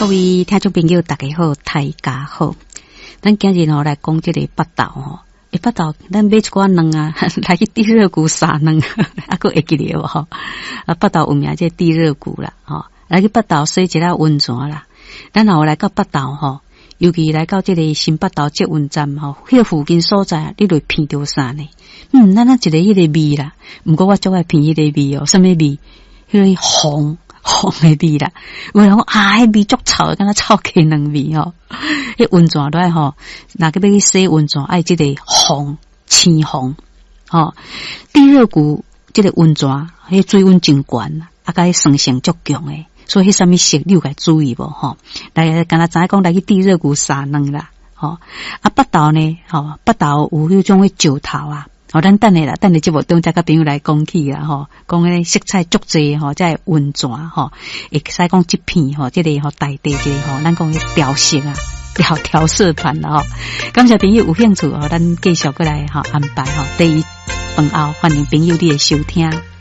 各位聽眾朋友，大家好，大家好。咱今日吼來講這個腹豆吼，欸，腹豆，咱買一寡卵啊，來去地熱谷撒卵，啊，閣會記得無吼？啊，腹豆有名這個地熱谷啦，吼，來去腹豆洗一下溫泉啦。咱若有來到腹豆吼，尤其來到這個新腹豆捷運站吼，彼個附近所在，你就會聞著啥呢？咱那一个彼個味啦，毋過我足愛聞彼個味哦，啥物味？彼個黃黃的味啦。有人講啊，彼味足臭的，敢若臭雞卵味吼。彼溫泉落來吼，若閣欲去洗溫泉，愛這個黃青黃吼。地熱谷這個溫泉，彼水溫真懸，啊，佮酸性足強的，所以彼啥物色你有共注意無吼？來，敢若知影講來去地熱谷撒卵啦，吼。啊，腹豆呢？吼，腹豆有彼種的石頭啊。吼，咱等下啦，等下節目中再佮朋友來講起啦，吼，講彼個色彩足濟吼，這個溫泉吼，會使講這片吼，這個吼大地這個吼，咱講調色啊，調調色盤啦吼。感謝朋友有興趣吼，咱繼續閣來吼安排吼，第一飯後歡迎朋友你的收聽。